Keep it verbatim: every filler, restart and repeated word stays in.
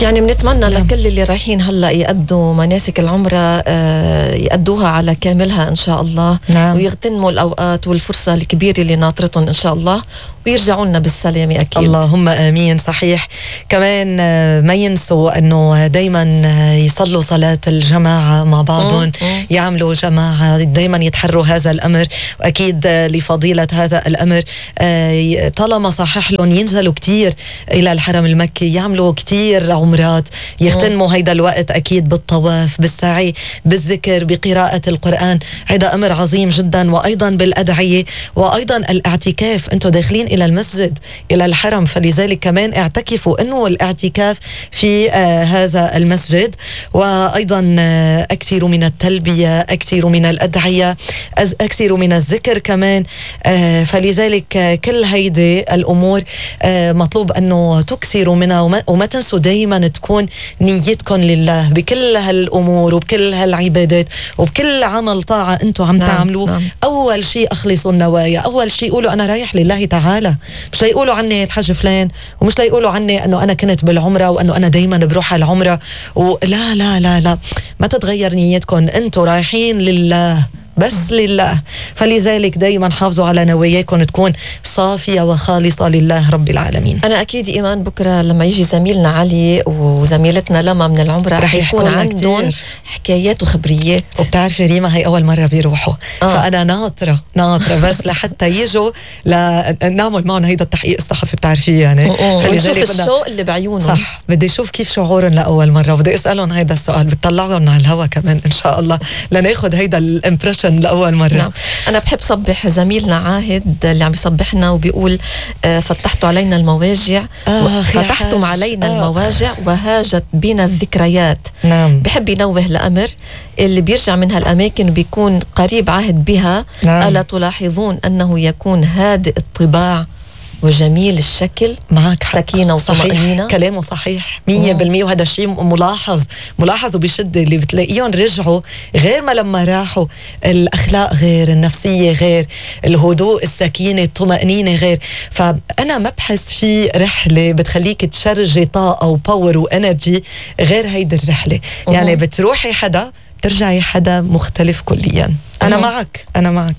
يعني بنتمنى لكل اللي رايحين هلا يأدوا مناسك العمرة آه يأدوها على كاملها إن شاء الله. نعم. ويغتنموا الأوقات والفرصة الكبيرة اللي ناطرتهم إن شاء الله، ويرجعوا لنا بالسلامة أكيد. اللهم آمين. صحيح. كمان ما ينسوا أنه دايما يصلوا صلاة الجماعة مع بعضهم، يعملوا جماعة، دايما يتحروا هذا الأمر، وأكيد لفضيلة هذا الأمر طالما صحح لهم ينزلوا كتير إلى الحرم المكي، يعملوا كتير عمرات، يغتنموا هيدا الوقت أكيد بالطواف، بالسعي، بالذكر، بقراءة القرآن. هذا أمر عظيم جدا. وأيضا بالأدعية، وأيضا الاعتكاف. أنتوا داخلين إلى المسجد، إلى الحرم، فلذلك كمان اعتكفوا. أنه الاعتكاف في آه هذا المسجد. وأيضا آه أكثروا من التلبية، أكثروا من الأدعية، أكثروا من الذكر كمان. آه فلذلك آه كل هيدي الأمور آه مطلوب أنه تكثروا منها، وما, وما تنسوا دايما تكون نيتكم لله بكل هالأمور وبكل هالعبادات وبكل عمل طاعة أنتوا عم نعم تعملوه. نعم. أول شيء أخلصوا النوايا، أول شيء قولوا أنا رايح لله تعالى. مش ليقولوا عني الحج فلان، ومش ليقولوا عني أنه أنا كنت بالعمرة وأنه أنا دايما بروح على العمرة. ولا لا لا لا ما تتغير نيتكم، أنتوا رايحين لله، بس لله. فلذلك دايما حافظوا على نواياكم تكون صافية وخالصة لله رب العالمين. أنا أكيد إيمان بكرة لما يجي زميلنا علي وزميلتنا لما من العمرة رح يكون عندهم حكايات وخبريات. وبتعرفي ريما هي أول مرة بيروحوا آه. فأنا ناطرة ناطرة بس لحتى يجوا لنعمل معهم هيدا التحقيق الصحفي، بتعرفي يعني. ونشوف الشوق اللي بعيونهم. صح. بدي أشوف كيف شعورهم لأول مرة، وبدي أسألهم هيدا السؤال، بتطلعهم على الهوا كمان إن شاء الله لناخد هيدا الامبريشن لأول مرة. نعم. أنا بحب صبح زميلنا عاهد اللي عم يصبحنا وبيقول آه فتحتوا علينا المواجع آه فتحتم علينا آه. المواجع وهاجت بنا الذكريات. نعم. بحب ينوه لأمر اللي بيرجع من هالأماكن وبيكون قريب عهد بها. نعم. ألا تلاحظون أنه يكون هادئ الطباع وجميل الشكل، معك سكينة وطمأنينة. كلامه صحيح مية بالمية. وهذا الشيء ملاحظ ملاحظ وبشدة، اللي بتلاقيهم رجعوا غير ما لما راحوا. الأخلاق غير، النفسية غير، الهدوء، السكينة، الطمأنينة غير. فأنا ما بحس في رحلة بتخليك تشرجي طاقة وباور وانرجي غير هيدي الرحلة. يعني بتروحي حدا ترجعي حدا مختلف كليا. أنا معك أنا معك